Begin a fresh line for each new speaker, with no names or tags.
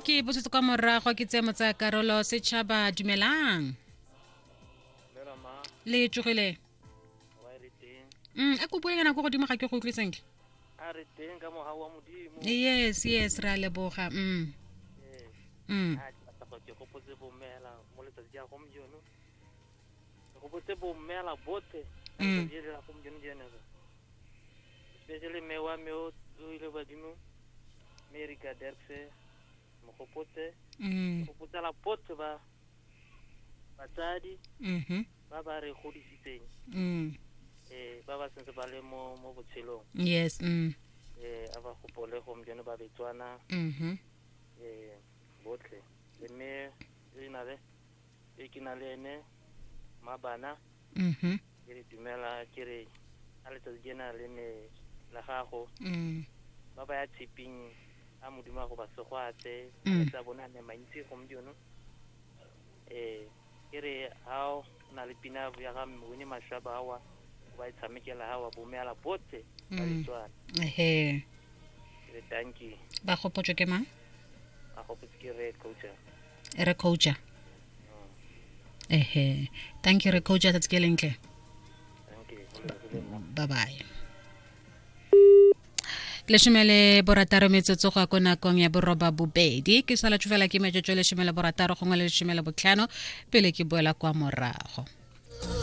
ke busetse kwa morago ke tse motsaya karolo setšhaba dumelang le tsogile a kopo nyana ko godimo ga ke go utlwe sentle
a re teng ka mogau wa modimo
yes yes re a leboga
a ke batla go ke gopotse bommela mo letsatsi ya gompieno ke gopotse bommela botlhe ka letsatsi la gompieno jene especially mme wa me o ile badimo Mary ka Derkse mo gopotse ke gopotsela botlhe ba batsadi ba ba re godisitseng eh ba ba sentse ba le mo mo botshelong
yes
eh a ba gopole gompieno ba betswana eh botlhe le mme e na le e ke na le ene mabana ke re dumela ke re a letsatsi ke na le ne la gago ba ba ya tshiping a modimo a go ba segwatse a bone a ne mantsi gompieno eh ke re ha o na le pina ya ga Winnie Mashaba awa o ba e tshamekela ha wa bomela botlhe ba Letswana
ehe
ke re thank you
ba gopotswe ke mang
ba gopotse ke re coacher
re coacher ehe thank you re coacher tsatsi ke lentle
thank you go lebogile nna.
Bye bye. 16 metsotso go ya ko nakong ya 8:30. Ke sala fela ke metsotso 16 gongwe le 15 pele ke boela kwa morago.